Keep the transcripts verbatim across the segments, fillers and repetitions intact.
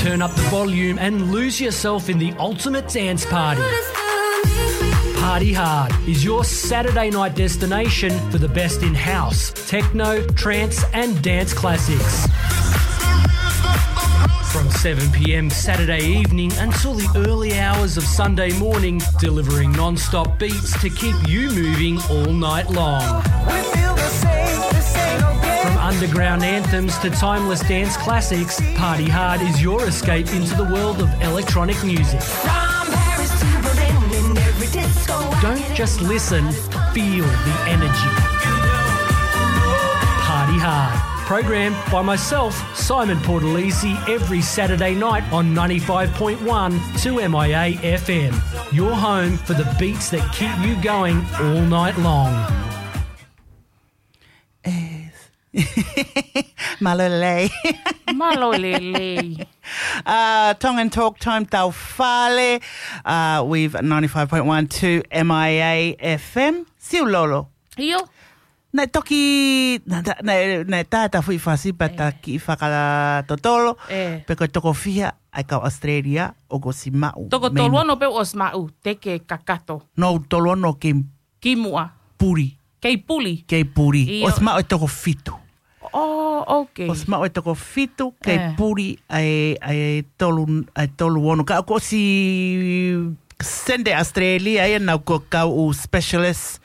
Turn up the volume and lose yourself in the ultimate dance party. Party Hard is your Saturday night destination for the best in house, techno, trance, and dance classics. From seven p.m. Saturday evening until the early hours of Sunday morning, delivering non-stop beats to keep you moving all night long. From underground anthems to timeless dance classics, Party Hard is your escape into the world of electronic music. Don't just listen, feel the energy. Party Hard. Programmed by myself, Simon Portalisi, every Saturday night on ninety-five point one two M I A F M. Your home for the beats that keep you going all night long. Mālō e lelei. Mālō e lelei. Uh, Tongan Talk Time, tau fale, uh, with ninety-five point one two M I A F M. Siulolo. ʻIo. Naʻe toki, naʻe, naʻe, naʻe tā ta fui fasi pea ta kiʻi fakatotolo, pe ko e toko fiha ʻa e kau Australia ʻoku ʻosi maʻu. Toko tolu ono pē ʻosi maʻu, te ke kakato. No, tolu ono ki muʻa. Puli. Kei puli. Kei puli. ʻIo. ʻOsi maʻu e toko fitu. Oh, okay. ʻOsi maʻu e toko fitu, kei puli ʻa e, ʻa e tolu, ʻa e tolu ono. Ka ʻoku ʻosi send ʻe Australia ia ʻenau kau specialist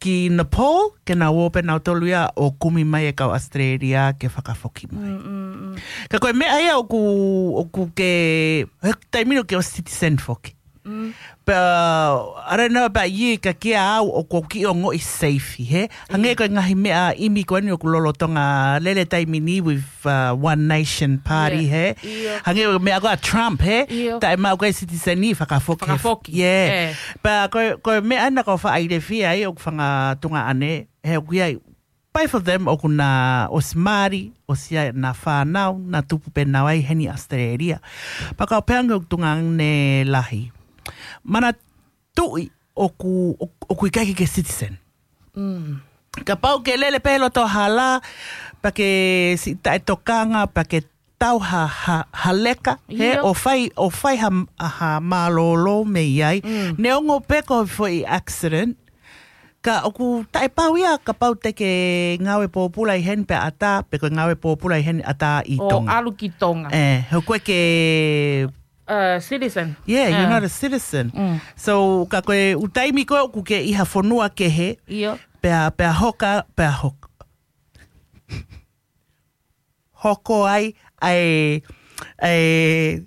ki Nepal, ke nau ō pē nautolu ia ʻo kumi mai e kau Australia ke fakafoki mai. Ka ko e meʻa ia ʻoku, ʻoku ke, he taimi ni ʻoku ke ʻosi citizen foki. Pea, I don't know about you, ka kia au ʻoku ou kiʻi ongoʻi safe, he? Hangē ko e ngaahi meʻa ʻimi ko eni ʻoku lolotonga lele taimi ni with, uh, One Nation Party, he? Hangē ko e meʻa ko ē ʻa Trump, he? Taʻe maʻu ko e citizen ni fakafoki. Fakafoki. Yeah. Pea ko, ko e meʻa ena ko faʻa ilefia ai ʻoku fanga tuongaʻane, he ʻoku ʻi ai pē foki ʻoku na ʻosi mali, ʻosi ʻi ai ʻena fānau, na tupu pē nau ai heni Australia. Pea kau pehē ange ʻoku tuongaʻane lahi. Manatuʻi ʻoku, ʻoku, ʻoku ʻikai ke citizen. Kapau ke lele pē loto hala, pea ke siʻi taʻetokanga, pea ke tau ha, ha, ha leka, he, ʻo fai, ʻo fai ha, ha mālōlō mei ai. Neongo pē ko e foʻi accident, ka ʻoku taʻepau ia kapau te ke ngāue pōpula ʻi heni pea ʻatā, pe ko e ngāue pōpula ʻi heni ʻatā ʻi Tonga. ʻO ʻalu ki Tonga. ʻE, he ko e ke, uh, citizen. Yeah, you're not a citizen. So, ka ko e ʻū taimi ko ē ʻoku ke ʻi ha fonua kehe, pea, pea hoka, pea hoka. Hoko ai, ʻa e, ʻa e,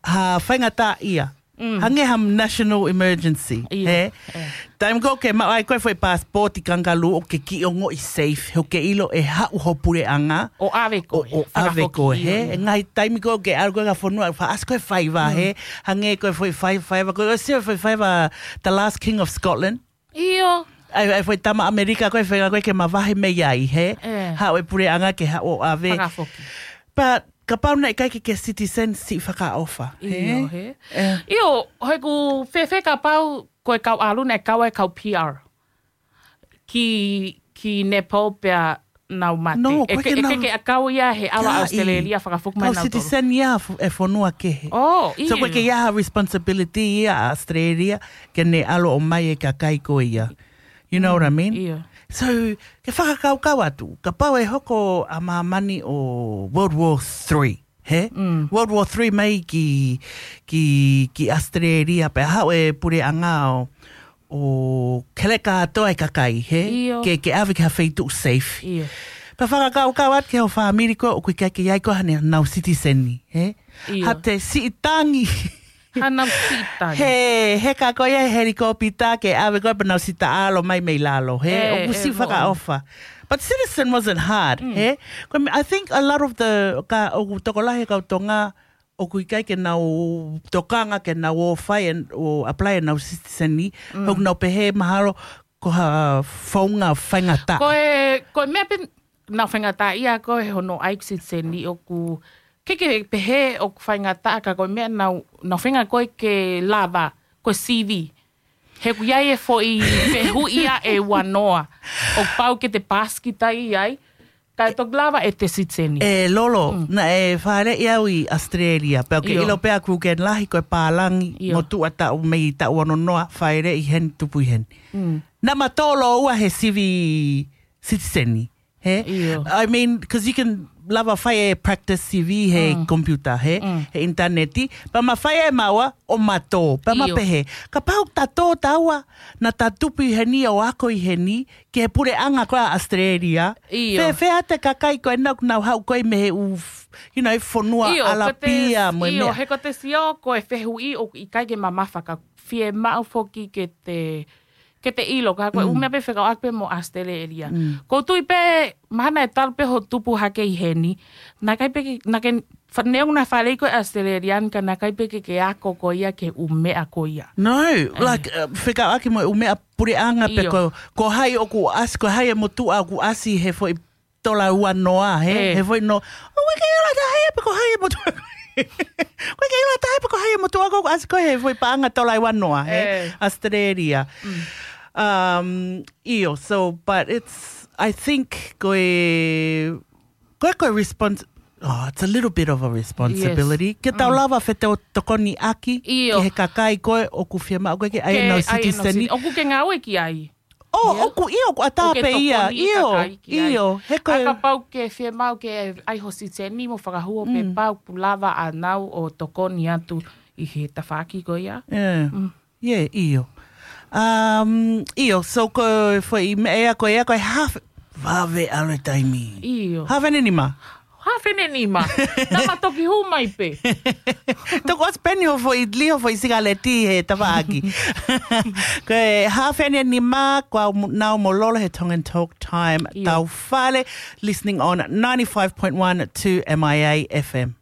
ha faingataʻaʻia. Hangē ha national emergency, he? Taimi ko ē ke maʻu ai ko e foʻi passport kangaroo ʻoku ke kiʻi ongoʻi safe, he ʻoku ke ʻilo ʻe haʻu ho puleʻanga. ʻO ʻave koe, ʻo, ʻo ʻave koe, he? ʻE ngaahi taimi ko ē ke ʻalu ko ē ki ha fonua, faʻa ʻasi ko e faiva, he? Hangē ko e foʻi fai, faiva, ko e ʻosi foʻi faiva, the last king of Scotland. ʻIo. ʻAi, ʻai foʻi tama ʻAmelika ko e feinga ko ē ke mavahe mei ai, he? Haʻu e puleʻanga ke haʻu ʻo ʻave. Fakafoki. But kapau naʻe ʻikai ke ke citizen siʻi fakaʻofa, he? ʻIo, he? ʻIo, he ʻoku fēfē kapau ko e kau ʻalu naʻe kau ai e kau P R. Ki, ki Nepal pea nau mate. No, ʻoku ʻikai ke, ke nau ʻikai ke ʻakau ia he ʻalu ʻa Australia fakafoki mai nautolu. Kau citizen ia ʻa e fonua kehe. Oh, ʻio. So ʻoku ʻikai ke ʻi ai ha responsibility ia ʻa Australia ke ne ʻalu ʻo ʻomai e kakai ko ia. You know what I mean? ʻIo. So, ke fakakaukau atu, kapau ʻe hoko ʻa māmani ʻo World War Three, he? World War Three mai ki, ki, ki Australia, pea haʻu e puleʻanga ʻo ʻo keleka atu ai e kakai, he? ʻIo. Ke, ke ʻave ki ha feituʻu safe. ʻIo. Pea fakakaukau atu ki ho fāmili ko ē ʻoku ʻikai ke ʻi ai ko ē haʻanau citizen ni, he? ʻIo. Haʻate siʻi tangi. Haʻanau siʻi tangi. He, he ka ko ia he helikopita ke ʻave ko ē pea nau siʻi taʻalo mai mei lalo, he? ʻOku siʻi fakaʻofa. But citizen wasn't hard, he? Ko e meʻa, I think a lot of the, ka ʻoku tokolahi e kau Tonga, ʻoku ʻikai ke nau tokanga ke nau ō fai ʻo apply ʻenau citizen ni, ʻoku nau pehē mahalo ko ha founga faingataʻa. Ko e, ko e meʻa pē naʻa faingataʻaʻia ko ē hono ʻai citizen ni ʻoku, ke ke pehē ʻoku faingataʻa ka ko e meʻa naʻa, naʻa faingataʻa ko ē ke lava, ko e C V. He ʻoku ʻi ai e foʻi fehuʻi ia ʻe ua noa. ʻOku pau ke te pass kita ai, Ka e toki lava ʻete siteni. E Lolo, naʻe fāʻeleʻi au ʻi Australia. Pea ʻoku ke ʻilo pē ʻa Crooken Lahi ko e pālangi, motuʻa taʻu mei taʻu ono noa, fāʻeleʻi heni, tupu ʻi heni. Naʻa ma tō lōua he sivi sitiseni. He? I mean, because you can lava fai e practice sivi he computer, he? He ʻinitaneti. Pea ma fai e maua, ʻo ma tō. Pea ma pehē, kapau ta tō taua, naʻa ta tupu ʻi heni ʻo ako ʻi heni, ki he puleʻanga ko ē ʻa Australia. Fēfē ʻa e kakai ko ē naʻa nau haʻu ko ē mei he ʻū, you know, fonua ʻAlapia mo e meʻa. He ko te sio ko e fehuʻi ʻoku ʻikai ke mamafa ka fiemaʻu foki ke te, ke te ʻilo, ka ko e ʻū meʻa pē fekauʻaki pē mo Australia. Ko u tui pē, mahalo naʻe talu pē hoʻo tupu hake ʻi heni, naʻe ʻikai pē ke, naʻa ke, neongo naʻe fāʻeleʻi koe ʻe Australia, ka naʻe ʻikai pē ke ke ako ko ia ki he ʻū meʻa ko ia. No, like, fekauʻaki mo e ʻū meʻa puleʻanga pē ko, ko hai ʻoku ʻasi, ko hai e motuʻa ʻoku ʻasi he foʻi tola ua noa, he? He foʻi no, ʻoku ʻikai ke ʻilo ʻe ha taha ia pe ko hai e motuʻa. ʻOku ʻikai ke ʻilo ʻe ha taha ia pe ko hai e motuʻa ʻoku ʻasi ko ē he foʻi paʻanga tola ua noa, he? Australia. Um, ʻio, so, but it's, I think, ko e, ko e, ko e respons-, oh, it's a little bit of a responsibility. Ke tau lava fetokoniʻaki ki he kakai ko ē ʻoku fiemaʻu ko ē ke ʻai ʻenau siteseni. ʻOku ke ngāue ki ai. ʻO, ʻoku ʻio, ʻoku ʻatā pē ia, ʻio, ʻio, he ko e. Kapau ke fiemaʻu ke ʻai ho siteni mo fakahua pē pau ʻoku lava ʻa nau ʻo tokoni atu ʻi he tafaʻaki ko ia. Yeah, ʻio. Um, ʻio, so ko e foʻi meʻa ia ko ia ko e half, vave ʻalu e taimi. ʻIo. Half an hour nima. Half an hour nima. Naʻa ma toki hū mai pē. Toki ʻosi pē eni hoʻo foʻi, lī hoʻo foʻi sikaleti he tafaʻaki. Ko e half an hour nima, ko au mo, nau mo Lolo he Tongan Talk Time. Tau fale, listening on ninety-five point one two M I A F M.